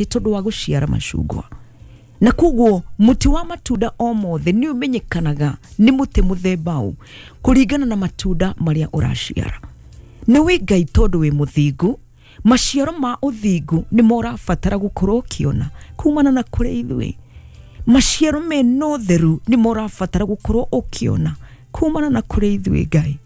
Nĩ tondũ wa gũciara macungwa. Na koguo mũtĩ wa matunda o mothe nĩ ũmenyekanaga nĩ mũtĩ mũthemba ũ kũringana na matunda marĩa ũraciara. Nĩ wĩ Ngai tondũ wĩ mũthingu, maciaro ma ũthingu nĩmo ũrabatara gũkorwo ũkĩona kumana na kũrĩ ithuĩ. Maciaro mena ũtheru nĩmo ũrabatara gũkorwo ũkĩona kumana na kũrĩ ithuĩ Ngai.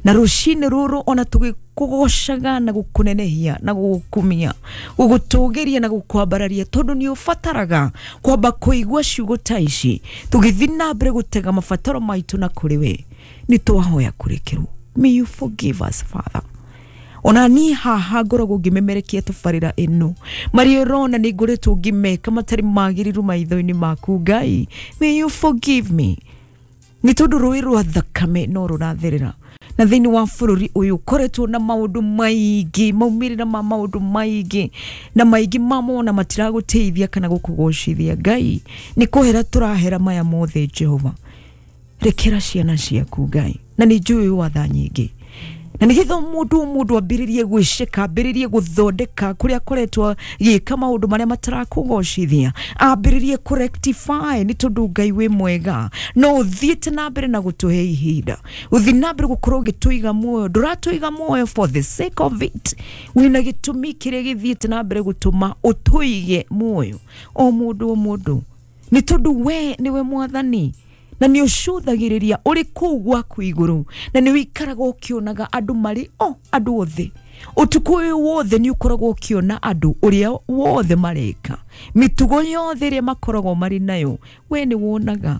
Na rũcinĩ rũrũ ona tũgĩkũgocaga na gũkũnenehia na gũgũkumia, gũgũtũgĩria na gũkwambararia, tondũ nĩ ũbataraga kwamba kũigua ciugo ta ici tũgĩthiĩ na mbere gũtega mabataro maitũ na kũrĩ we. Nĩ twahoya kũrekerwo. May you forgive us, Father. Ona niĩ haha ngoragwo ngĩmemerekia tabarĩra ĩno, marĩa ũrona nĩ ngoretwo ngĩmeka matarĩ magĩrĩru maitho-inĩ maku Ngai. May you forgive me. Nĩ tondũ rũĩ rwa thakame no rũratherera na thĩinĩ wa bũrũri ũyũ ũkoretwo na maũndũ maingĩ, maumĩrĩra ma maũndũ maingĩ, na maingĩ mamo ona matiragũteithia kana gũkũgocithia Ngai. Nĩ kũhera tũrahera maya mothe Jehova. Rekera ciana ciaku Ngai, na nĩ njũĩ watha nyingĩ, na nĩgetha mũndũ o mũndũ ambĩrĩrie gwĩceka, ambĩrĩrie gũthondeka kũrĩa akoretwo agĩka maũndũ marĩa matarakũgocithia, ambĩrĩrie kũ rectify, nĩ tondũ Ngai wĩ mwega. No ũthiĩte na mbere na gũtũhe ihinda, ũthiĩ na mbere gũkorwo ũgĩtũiga muoyo. Ndũratũiga muoyo for the sake of it, wĩna gĩtũmi kĩrĩa gĩthiĩte na mbere gũtũma ũtũige muoyo o mũndũ o mũndũ, nĩ tondũ we nĩwe Mwathani na nĩ ũcũthagĩrĩria ũrĩ kũu gwaku igũrũ, na nĩ ũikaraga ũkĩonaga andũ marĩ o andũ othe. Ũtukũ ũyũ wothe nĩ ũkoragwo ũkĩona andũ ũrĩa wothe mareka, mĩtugo yothe ĩrĩa makoragwo marĩ nayo, we nĩ wonaga.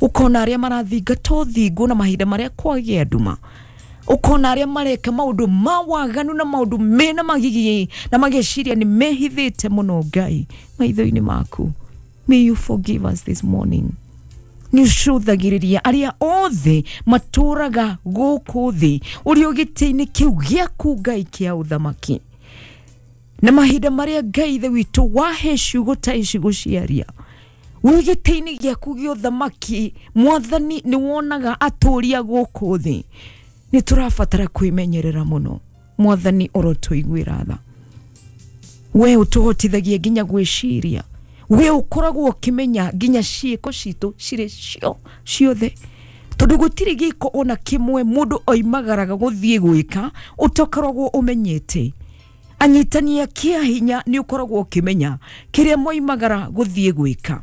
Ũkona arĩa marathingata ũthingu na mahinda marĩa kwagĩa nduma, ũkona arĩa mareka maũndũ ma waganu na maũndũ mena magigi na mageciria nĩ mehithĩte mũno Ngai maitho-inĩ maku. May you forgive us this morning. Nĩ ũcũthagĩrĩria arĩa othe matũraga gũkũ thĩ ũrĩ o gĩtĩ-inĩ kĩu gĩaku Ngai kĩa ũthamaki, na mahinda marĩa Ngai ithe witũ wahe ciugo ta ici gũciaria wĩ gĩtĩ-inĩ gĩaku gĩa ũthamaki, Mwathani nĩ wonaga atũria gũkũ thĩ. Nĩ tũrabatara kwĩmenyerera mũno Mwathani, orotũiguĩra tha. We ũtũhotithagia nginya gwĩciria, we ũkoragwo ũkĩmenya nginya ciĩko citũ cirĩ cio ciothe, tondũ gũtirĩ gĩko ona kĩmwe mũndũ oimagaraga gũthiĩ gwĩka ũtakoragwo ũmenyete. Anyitania kĩa hinya nĩ ũkoragwo ũkĩmenya kĩrĩa moimagara gũthiĩ gwĩka.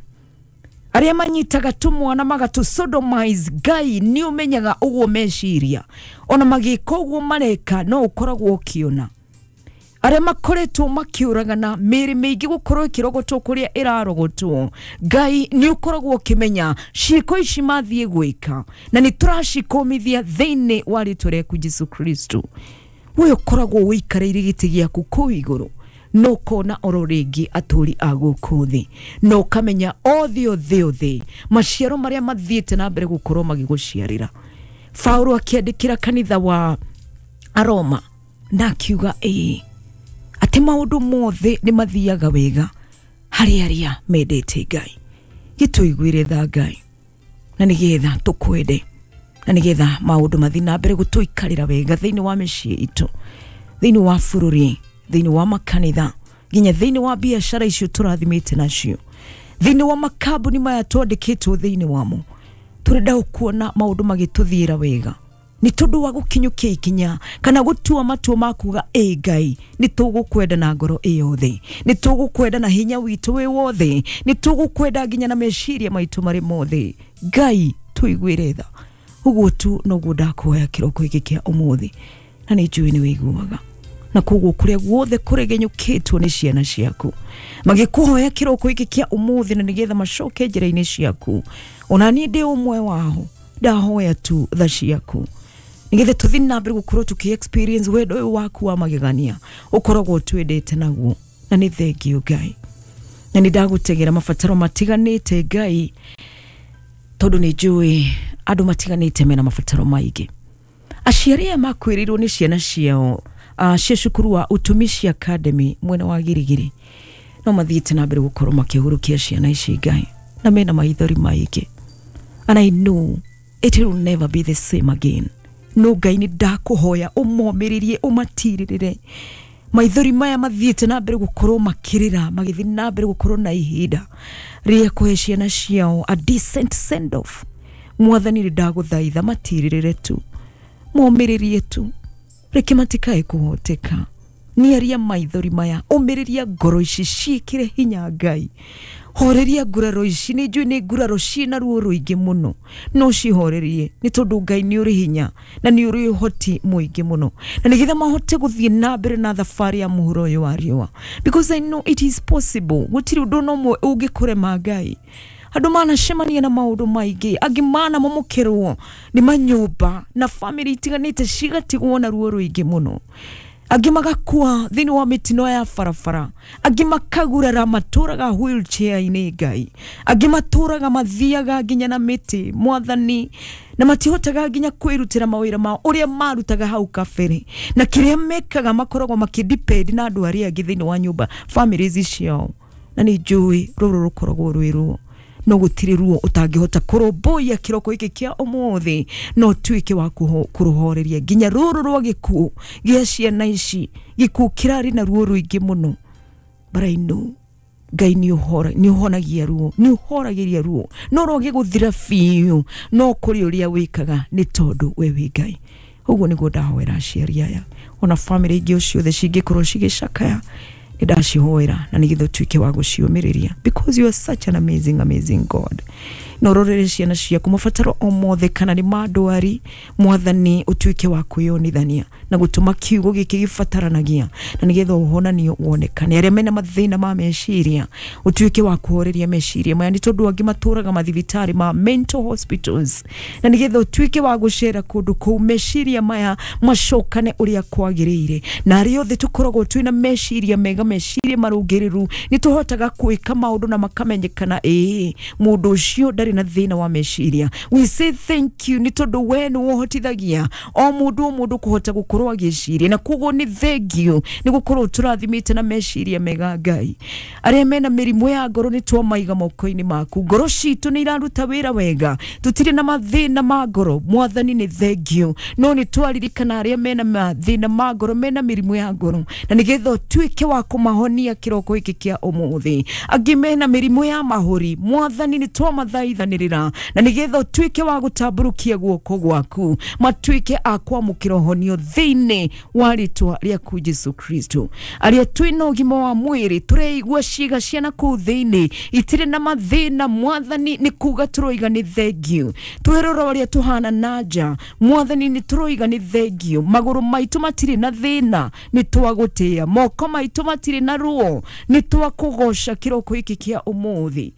Arĩa manyitaga tũmwana magatũ sodomize, Ngai nĩ ũmenyaga ũguo meciria, ona magĩka ũguo mareka no ũkoragwo ũkĩona. Arĩa makoretwo makĩũragana mĩĩrĩ mĩingĩ gũkorwo ĩkĩrogotwo kũrĩa ĩrarogotwo, Ngai nĩ ũkoragwo ũkĩmenya ciĩko ici mathiĩ gwĩka, na nĩ tũracikũmithia thĩinĩ wa rĩtwa rĩaku Jesu Kristo. We ũkoragwo ũikarĩire gĩtĩ gĩaku kũu igũrũ, no ũkona oro rĩngĩ atũri a gũkũ thĩ, na ũkamenya othe othe othe maciaro marĩa mathiĩte na mbere gũkorwo magĩgũciarĩra. Paulo akĩandĩkĩra kanitha wa Aroma na akiuga ĩĩ atĩ maũndũ mothe nĩ mathiaga wega harĩ arĩa mendete Ngai. Gĩtũiguĩre tha Ngai, na nĩgetha tũkwende, na nĩgetha maũndũ mathiĩ na mbere gũtũikarĩra wega thĩinĩ wa mĩciĩ itũ, thĩinĩ wa bũrũri, thĩinĩ wa makanitha, nginya thĩinĩ wa biacara icio tũrathimĩte nacio, thĩinĩ wa makambuni maya twandĩkĩtwo thĩinĩ wamo. Tũrenda kuona maũndũ magĩtũthiĩra wega nĩ tondũ wa gũkinyũkia ikinya kana gũtua matua ma kuga ĩ Ngai, nĩ tũgũkwenda na ngoro ĩ yothe, nĩ tũgũkwenda na hinya witũ wĩ wothe, nĩ tũgũkwenda nginya na meciria maitũ marĩ mothe. Ngai tũiguĩre tha. Ũguo tu noguo ndakuhoya kĩroko gĩkĩ kĩa ũmũthĩ, na nĩ njũĩ nĩ wĩiguaga. Na koguo kũrĩa guothe kũregenyũkĩtwo nĩ ciana ciaku magĩkũhoya kĩroko gĩkĩ kĩa ũmũthĩ, na nĩgetha macoke njĩra-inĩ ciaku, ona niĩ ndĩ ũmwe wao, ndahoya tu tha ciaku nĩgetha tũthiĩ na mbere gũkorwo tũkĩ experience wendo ũyũ waku wa magegania ũkoragwo twendete naguo. Na nĩ thengiũ Ngai, na nĩ ndagũtegera mabataro matiganĩte Ngai, tondũ nĩ njũĩ andũ matiganĩte mena mabataro maingĩ. Aciari aya makwĩrĩirwo nĩ ciana ciao cia cukuru wa Utumishi Academy mwena wa Girigiri, no mathiĩte na mbere gũkorwo makĩhurũkia ciana ici Ngai, na mena maithori maingĩ, and I know it will never be the same again. No Ngai nĩ ndakũhoya ũmomĩrĩrie, ũmatirĩrĩre. Maithori maya mathiĩte na mbere gũkorwo makĩrĩra, magĩthiĩ na mbere gũkorwo na ihinda rĩa kũhe ciana ciao a decent send off. Mwathani nĩ ndagũthaitha matirĩrĩre tu, momĩrĩrie tu, reke matikae kũhoteka. Nĩaria maithori maya, ũmĩrĩria ngoro ici ciĩkĩre hinya Ngai. Horeria nguraro ici, nĩ njũĩ nĩ nguraro ciĩna ruo rũingĩ mũno, no cihorerie nĩ tondũ Ngai nĩ ũrĩ hinya na nĩ ũrĩ ũhoti mũingĩ mũno, na nĩgetha mahote gũthiĩ na mbere na thabarĩ ya mũhuro ũyũ wa riũa, because I know it is possible. Gũtirĩ ũndũ ona ũmwe ũngĩkũrema Ngai. Andũ manacemania na maũndũ maingĩ, angĩ manamomokĩrwo nĩ manyũmba na bamĩrĩ itiganĩte cigatigwo na ruo rũingĩ mũno, angĩ magakua thĩinĩ wa mĩtino ya barabara, angĩ makagurara matũraga wheelchair-inĩ Ngai, angĩ matũraga mathiaga nginya na mĩtĩ Mwathani, na matihotaga nginya kwĩrutĩra mawĩra mao ũrĩa marutaga hau kabere, na kĩrĩa mekaga makoragwo makĩdepend na andũ arĩa angĩ thĩinĩ wa nyũmba families ciao. Na nĩ njũĩ rũrũ rũkoragwo rwĩ ruo, no gũtirĩ ruo ũtangĩhota kũrũmbũiya kĩroko gĩkĩ kĩa ũmũthĩ, no ũtuĩke wa kũrũhoreria nginya rũrũ rwa gĩkuũ gĩa ciana ici. Gĩkuũ kĩrarĩ na ruo rũingĩ mũno, but I know Ngai nĩ ũhonagia ruo, nĩ ũhoragĩria ruo, no rwage gũthira biũ, no kũrĩ ũrĩa wĩkaga nĩ tondũ we wĩ Ngai. Ũguo nĩguo ndahoera aciari aya, ona bamĩrĩ ingĩ o ciothe cingĩkorwo cigĩcakaya, nĩndacihoera na nĩgetha ũtuĩke wa gũciũmĩrĩria, because you are such an amazing amazing God. Na ũrorere ciana ciaku mabataro o mothe, kana nĩ ma ndwari, Mwathani ũtuĩke wa kwĩyonithania na gũtũma kiugo gĩkĩ gĩbataranagia, na nĩgetha ũhonanio wonekane. Arĩa mena mathĩna ma meciria, ũtuĩke wa kũhoreria meciria maya, nĩ tondũ angĩ matũraga mathibitarĩ ma mental hospitals, na nĩgetha ũtuĩke wa gũcera kũndũ kũu, meciria maya macokane ũrĩa kwagĩrĩire. Na arĩa othe tũkoragwo twĩna meciria mega, meciria marũngĩrĩru, nĩ tũhotaga gwĩka maũndũ na makamenyekana, ĩĩ mũndũ ũcio ndarĩ na thĩna wa meciria. We say thank you nĩ tondũ we nĩ wohotithagia o mũndũ o mũndũ kũhota gũkorwo agĩciria, na koguo nĩ thank you nĩ gũkorwo tũrathimĩte na meciria mega Ngai. Arĩa mena mĩrimũ ya ngoro nĩ twamaiga moko-inĩ maku, ngoro citũ nĩ iraruta wĩra wega, tũtirĩ na mathĩna ma ngoro Mwathani, nĩ thank you. No nĩ twaririkana arĩa mena mathĩna ma ngoro, mena mĩrimũ ya ngoro, na nĩgetha ũtuĩke wa kũmahonia kĩroko gĩkĩ kĩa ũmũthĩ. Angĩ mena mĩrimũ ya mahũri, Mwathani nĩ twamathaithanĩrĩra, na nĩgetha ũtuĩke wa gũtambũrũkia guoko gwaku, matuĩke a kwamũkĩra ũhonio thĩinĩ wa rĩtwa rĩaku Jesu Kristo. Arĩa twĩna ũgima wa mwĩrĩ, tũreigua ciĩga ciana kũu thĩinĩ itirĩ na mathĩna, Mwathani nĩ kuga tũroiga nĩ thank you. Twĩrora ũrĩa tũhana na nja, Mwathani nĩ tũroiga nĩ thank you. Magũrũ maitũ matirĩ na thĩna, nĩ twagũtĩĩa. Moko maitũ matirĩ na ruo, nĩ twakũgoca kĩroko gĩkĩ kĩa ũmũthĩ.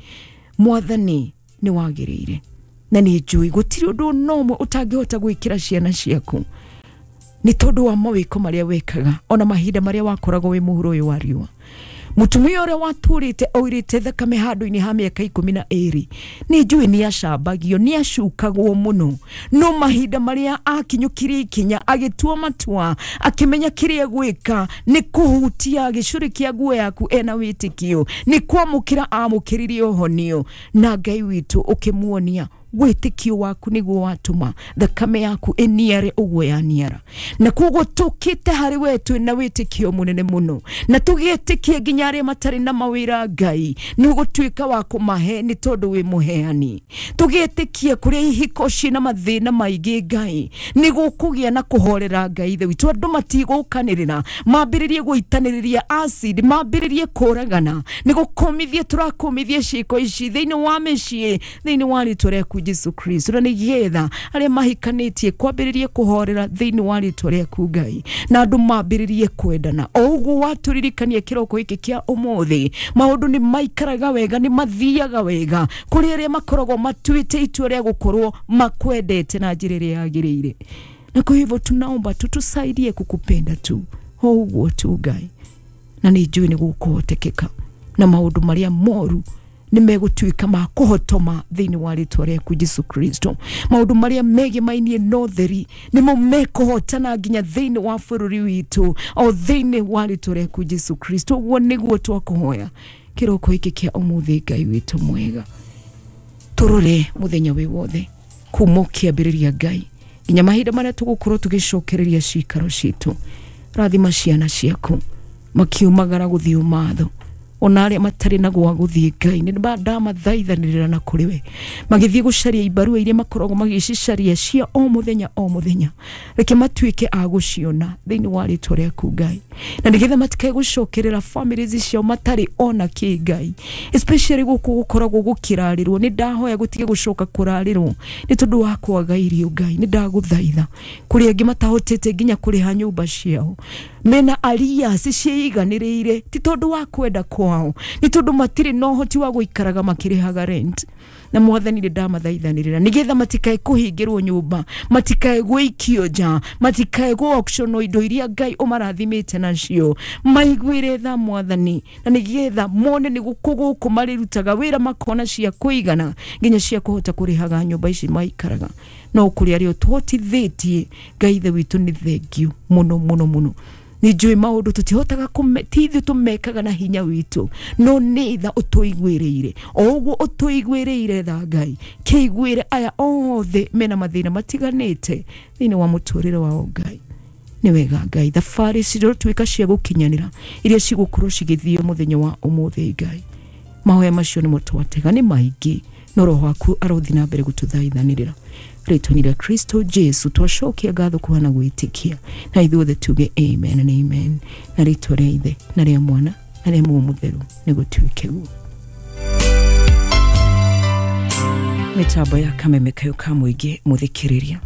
Mwathani nĩ wagĩrĩire, na nĩ njũĩ gũtirĩ ũndũ ona ũmwe ũtangĩhota gwĩkĩra ciana ciaku, nĩ tondũ wa mawĩko marĩa wekaga, ona mahinda marĩa wakoragwo wĩ mũhuro ũyũ wa riũa. Mũtumia ũrĩa watũrĩte oirĩte thakame handũ-inĩ ha mĩaka 12, nĩ njũĩ nĩ acambagio, nĩ acukagwo mũno, no mahinda marĩa akinyũkirie ikinya, agĩtua matua, akĩmenya kĩrĩa gwĩka nĩ kũhutia gĩcũrĩ kĩa nguo yaku ena wĩtĩkio, nĩ kwamũkĩra amũkĩririe ũhonio, na Ngai witũ ũkĩmuonia wĩtĩkio waku nĩguo watũma thakame yaku ĩniare ũguo yaniara. Na koguo tũkĩte harĩ we twĩna wĩtĩkio mũnene mũno, na tũgĩtĩkie nginya arĩa matarĩ na mawĩra Ngai nĩ ũgũtuĩka wa kũmahe nĩ tondũ wĩ mũheani. Tũgĩtĩkie kũrĩa ihiko ciĩna mathĩna maingĩ Ngai nĩ gũkũgĩa na kũhorera Ngai ithe witũ, andũ matigũkanĩrĩra, mambĩrĩrie gũitanĩrĩria acid, mambĩrĩrie kũragana, nĩ gũkũmithia tũrakũmithia ciĩko ici thĩinĩ wa mĩciĩ, thĩinĩ wa rĩtwa rĩaku Jesu Kristo, na nĩgetha arĩa mahikanĩtie kwambĩrĩrie kũhorera thĩinĩ wa rĩtwa rĩaku Ngai, na andũ mambĩrĩrie kwendana. O ũguo watũririkania kĩroko gĩkĩ kĩa ũmũthĩ, maũndũ nĩ maikaraga wega, nĩ mathiaga wega kũrĩ arĩa makoragwo matuĩte itua rĩa gũkorwo makwendete na njĩra ĩrĩa yagĩrĩire. Na kwa hivyo tunaomba tu tusaidie kukupenda tu o ũguo tu Ngai, na nĩ njũĩ nĩ gũkũhotekeka, na maũndũ marĩa moru nĩ megũtuĩka ma kũhotoma thĩinĩ wa rĩtwa rĩaku Jesu Kristo. Maũndũ marĩa megemainie na ũtheri nĩmo mekũhotana nginya thĩinĩ wa bũrũri witũ, o thĩinĩ wa rĩtwa rĩaku Jesu Kristo. Ũguo nĩguo twakũhoya kĩroko gĩkĩ kĩa ũmũthĩ Ngai witũ mwega. Tũrore mũthenya wĩ wothe kuma ũkĩambĩrĩria Ngai nginya mahinda marĩa tũgũkorwo tũgĩcokereria cikaro citũ. Rathima ciana ciaku, Makiumagara gũthiĩ ũmatho ona arĩa matarĩ na gwa gũthiĩ Ngai nĩ ndamathaithanĩrĩra na kũrĩ we magĩthiĩ gũcaria ibarua iria makoragwo magĩcicaria cia o mũthenya o mũthenya, reke matuĩke a gũciona thĩinĩ wa rĩtwa rĩaku Ngai, na nĩgetha matikae gũcokerera families ciao matarĩ ona kĩ Ngai, especially gũkũ gũkoragwo gũkĩrarĩrwo. Nĩ ndahoya gũtige gũcoka kũrarĩrwo nĩ tondũ wa kwaga irio Ngai. Nĩ ndagũthaitha kũrĩ angĩ matahotete nginya kũrĩha nyũmba ciao, mena arias ciĩiganĩrĩire, ti tondũ wa kwenda kwao, nĩ tondũ matirĩ na ũhoti wa gũikaraga makĩrĩhaga rent. Na mwathani nĩ ndamathaithanĩrĩra nĩgetha matikae kũhingĩrwo nyũmba, matikae gũikio nja, matikae gũ auction indo iria Ngai ũmarathimĩte nacio, maiguĩre tha mwathani, na nĩgetha mone nĩ gũkũ gũkũ marĩrutaga wĩra makona cia kũigana nginya cia kũhota kũrĩhaga nyũmba ici maikaraga. No kũrĩ arĩa ũtũhotithĩtie Ngai ithe witũ, nĩ thengiũ mũno mũno mũno. Nĩ njũĩ maũndũ tũtihotaga ti ithuĩ tũmekaga na hinya witũ, no nĩ tha ũtũiguĩrĩire. O ũguo ũtũiguĩrĩire tha Ngai, kĩiguĩre aya othe mena mathĩna matiganĩte thĩinĩ wa mũtũrĩre wao Ngai. Nĩ wega Ngai, thabarĩ cirotuĩka cia gũkinyanĩra iria cigũkorwo cigĩthiĩ mũthenya wa ũmũthĩ Ngai. Mahoya macio nĩmo twatega nĩ maingĩ, no roho waku arothiĩ na mbere gũtũthaithanĩrĩra rĩtwa-inĩ rĩa Kristo Jesu twacokia ngatho kuhana gwĩtĩkia, na ithuothe tuge amen and amen, na rĩtwa rĩa Ithe na rĩa Mwana na rĩa Muoyo Mũtheru nĩ gũtuĩke guo. Mĩtambo ya kameme kayo ka mũingĩ mũthikĩrĩria.